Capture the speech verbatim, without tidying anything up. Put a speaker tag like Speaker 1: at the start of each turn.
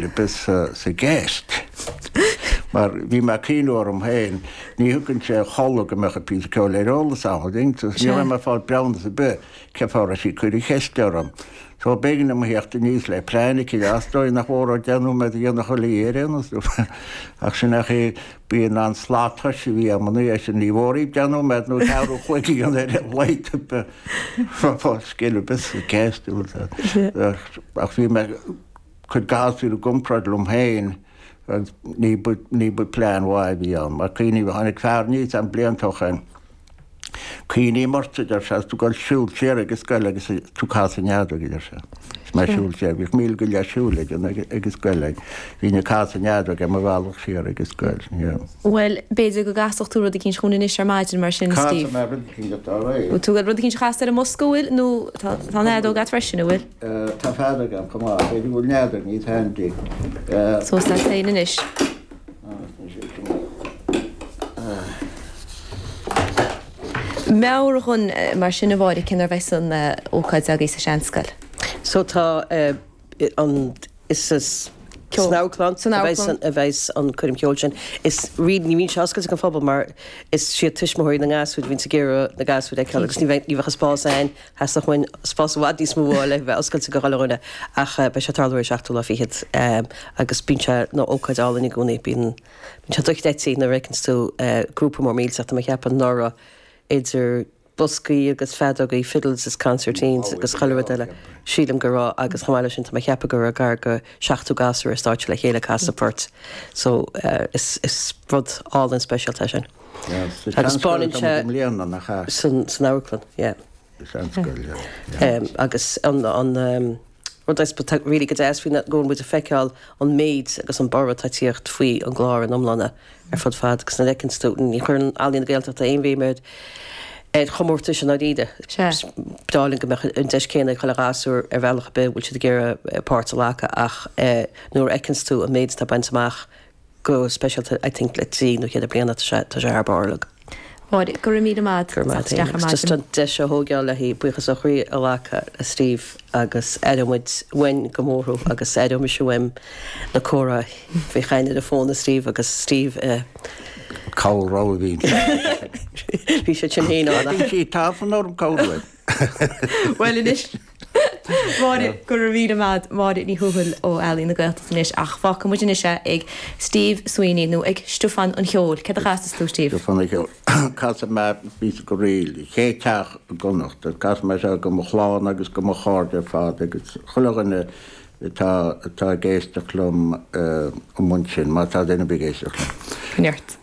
Speaker 1: Bith sa, sa gceist. Mar bhí mé cuimhneamh orm féin, ní thugann sé chodladh go mbeadh an píosa ceoil ar eolas ann, ní raibh mé ag fáil breamhnas ar bith cé fáth a raibh sí ag cur an cheist orm. So b'éigean dom a theacht aníos le plean aici, is dóigh nach mór deich nóiméad a dhéanamh chuile oíche ar aon nós. Ach sin é chaoi bíonn an slat toise a bhí agam an oíche sin, ní mhór í deich nóiméad nó ceathrú an chloig a dhéanamh ar a laghad ar bith scéal ar bith sa gceist. Ach bhí mé cur gasúir i gcomparáid liom féin agus ní ba ní ba plean mhaith a bhí ann. Mar cuimhním, tháinig fear aníos agam blianta ó shin, cuimhním ort, a deir sé, agus tú ag dul siúl siar ag an scoil agus tú ag casadh an fheadóg, a deir sé. Is mé ag siúl siar, bhíodh míle go leith siúil ag an ag an scoil ag, bhínn ag casadh an fheadóg ar mo bhealach siar ag an scoil, yeah.
Speaker 2: Bhuel, b'fhéidir go gcasfadh tú rud eicínt chugainn anois ar maidin mar sin, Steve.
Speaker 1: Casfaidh mé rud eicínt atá réidh.
Speaker 2: Bhfuil tú ag rud eicínt a chasadh ar an mbosca, an bhfuil, nó tá an fheadóg agat freisin, an bhfuil?
Speaker 1: Tá feadóg agam chomh maith. B'fhéidir go bhfuil n'fheadar, níl handy.
Speaker 2: Suas leat féin anois. Meabhraigh dhúinn mar sin, a Mháire, cén uair a bheas an ócáid agaibh sa Seanscoil?
Speaker 3: So tá an, is sa san amharclann a bheas an coirm cheoil sin. Is really ní bhíonn sé oscailte don phobal mar is siad tuismitheoirí na ngasúir a bhíonns ag iarraidh na gasúir a fheiceáil agus ní bheidh ní bheadh an spás ann. Theastódh uainn spás i bhfad níos mó a fháil le bheith oscailte do chuile dhuine ach beidh sé ag tarlú ar an seachtú lá fichead agus bíonn sé ina ócáid álainn i gcónaí. Bíonn bíonn sé dochreidte nuair a fheiceanns tú grúpa mór millteach tá mé ag ceapadh anuraidh idir boscaí agus feadógaí, fiddles is concertines agus chuile rud eile. Sílim go raibh agus chomh maith leis sin tá mé ag ceapadh go raibh gar go seachtó gasúr ar stáitse le chéile ag casadh poirt. So is is rud álainn speisialta é sin. Agus baineann sé san san amharclann, yeah. Agus an an rud is atá really go deas faoi ná go bhfuil muid ag feiceáil an méid agus an borradh atá ag tíocht faoi an gclár ina iomláine ar fud fad agus nuair a fheiceanns tú, ní chuireann Ealaín na Gaeltachta aon bhéim ar ar chomórtais i ndáiríre. Is breá linn go mbeadh an deis céanna ag chuile ghasúr ar bhealach ar bith a bhfuil siad ag iarraidh páirt a ghlacadh ach nuair a fheiceanns tú an méid atá bainte amach go speisialta I think le trí nó ceithre bliana tá sé tá sé thar barr uilig.
Speaker 2: Máire, go raibh míle maith
Speaker 3: Go raibh maith
Speaker 2: isteach ar
Speaker 3: agat. Just
Speaker 2: maidin.
Speaker 3: an deis a thógáil le haghaidh buíochas ó chroí a ghlacadh le Steve agus aireoidh muid uainn go mór thú agus aireoidh mise uaim na comhrá faoi chaint ar an bhfón le Steve agus Steve i
Speaker 1: Cabhair a bhí
Speaker 3: Bhí sé sin féin ann.
Speaker 1: Bhí sí tafann orm cabhrú.
Speaker 2: Bhuel anois Máire, go raibh míle maith agat, Máire Ní Thuathail ó Ealaín na Gaeltachta anois ach fágfaidh muid anois é ag Steve Sweeney nó ag Stiofán an Cheoil. Céard a chasas tú, Steve?
Speaker 1: Stiofán an Cheoil. Casfaidh mé píosa de ríl, Chéad Teach i gConnacht. Casfaidh mé seo do mo chlann agus do mo chairde ar fad agus chuile dhuine atá atá ag éisteacht liom amuigh ansin, má tá duine ar bith ag éisteacht liom.
Speaker 2: Neart.